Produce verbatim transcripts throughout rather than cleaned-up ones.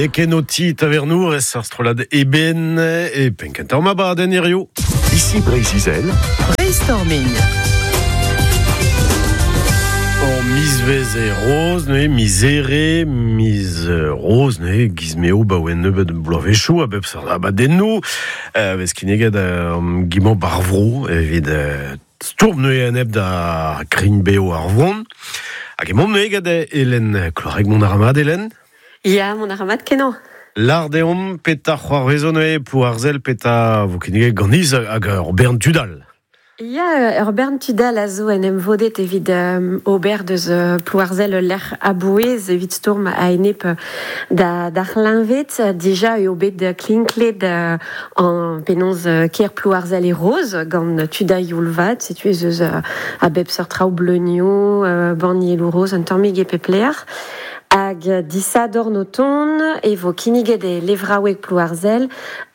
Nekenoti tavernour es ar strolad eben e penkenter ma baden hirio. Ici Breiz-Izel. Brainstorming. Or mizvez e roz, ne, mizere, miz roz, ne, gizmeo ba oen nebeut bloavezhioù a bep seurt abadennoù, euh, vez kinneget euh, gimañ barvro evit euh, stourm neuze aneb da krign beo ar vron. Hag emaomp neuze gant Hélène Cloarec mont a ra mat, Hélène? Ya, mont a ra mat kenañ. Lar deomp peta c'hoarvezo neuze Plouarzel peta vo kinneget ganiz hag ur bern tudal. Ya, ur bern tudal a zo en em vodet evit euh, ober deus euh, Plouarzel lec'h abouez evit stourm a enep da, da c'hleñved. Dija eo bet klinklet euh, an penaos euh, ker Plouarzel e roz gant tuda youlvat, setu ez eus euh, a bep seurt traoù bleunioù, euh, bannieloù roz, un tammig e pep lec'h. Hag disadorn o ton e vo kinniget e levraoueg Plouarzel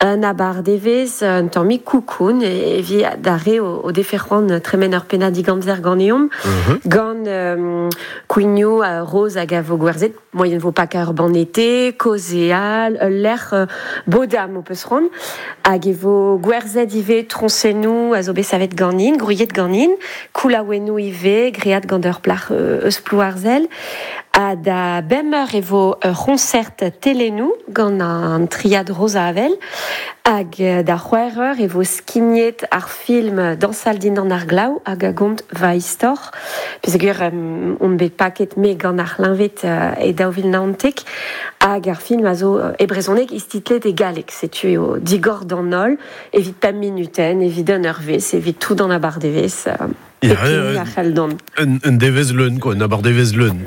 un abardevez un tammig koukoun e vi d'ar re o, o defe c'hoant tremen ur pennad digamzer ganeomp. Mm-hmm. Gant euh, kouignoù uh, roz hag a vo gwerzhet, moyen vo pak ar banete, kozeal, ul lec'h euh, bodam o peus c'hoant. Hag e vo gwerzhet ivez troñsennoù a zo bet savet ganin, grouilhet ganin, koulaouennoù ivez, great gant ur plac'h euh, eus Plouarzel. Ha da bemp eur e vo ur c'honcert telenou gant an triad Rosa Avel. Hag da c'hwec'h eur e vo skignet ar film Dansal dindan ar glaou hag a gont va istor. Peogwir um, on bet paket me gant ar c'hleñved uh, e daou vil naontek. Hag ar film a zo e brezhoneg istitlet e galleg. Setu eo digor d'an holl, evit pemp minuten, evit un eurvezh, evit tout an abardevez. Uh, Ya, pep hini euh, a c'hell dont. Un, un devez leun, quoi, un abardevez leun.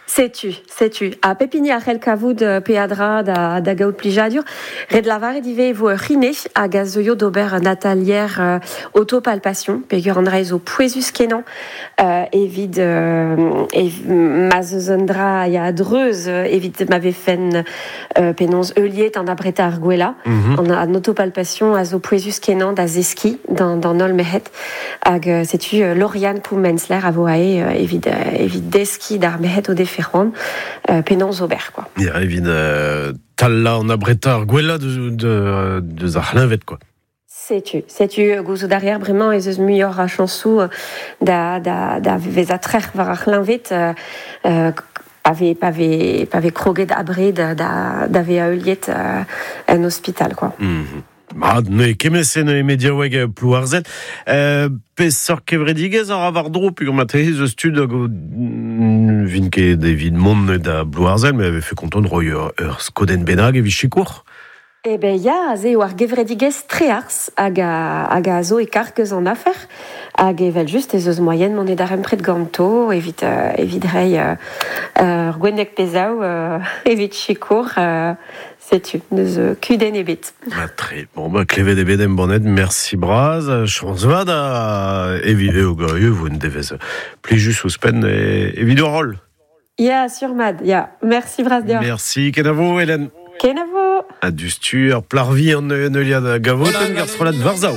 Setu, setu. Ha pep hini a c'hell kavout euh, peadra da, da gaout plijadur. Ret lavaret ivez e vo ur c'hine hag a zeuio d'ober un atalier euh, autopalpation, peogwir an dra zo pouezus kenañ euh, evit euh, ev, ma zeus un dra ya dreuz euh, evit ma vefen euh, penaos heuliet an abreta ar gwella. Mm-hmm. An, an autopalpation a zo pouezus kenañ da zeski d'an, d'an holl merc'hed. Hag euh, setu euh, Lauriane Poumensler a vo ae euh, evit, euh, evit deski d'ar merc'hed o defe c'hoant, euh, penaos ober, quoi. Ya, evit euh, talla an abreta ar gwella deus, de, deus ar c'hleñved, quoi. Setu, setu gouzout a reer bremañ ez eus muioc'h a chañsoù da, da, da vezañ trec'h war ar c'hleñved, euh, euh, pa vez, pa vez, pa vez kroget abred da, da, da vezañ heuliet, euh, en ospital, quoi. Mm-hmm. Ma, neuze kemese neuze mediaoueg Plouarzel. Euh, peseurt kevredigezh ar war dro, peogwir ma tez eus tud hag o, mm, vin ket evit mont da Plouarzel, mais avait fait kontant roi ur, ur skodenn bennak evit sikour. Eh ben ya, aze eo ar gevredigezh trearz hag a, hag a zo e karg eus an afer. Hag evel just ez eus moyen mont e darempred ganto evit, euh, evit reiñ, euh, ur gwenneg pezaou, euh, evit sikour, euh, setu, neus euh, kudenn ebet. Ba, tre. Bon, ba, klevet ebet em bonnet, merci braz, chañs vat a evit eo gant vo un devez plijus ouzhpenn e, evit ur roll. Ya, sur mad, ya. Merci braz deoc'h. Merci, kenavo, Hélène. Kenavo. A du stur, plarvi an neuliad gavoten, gar strollad Varzao.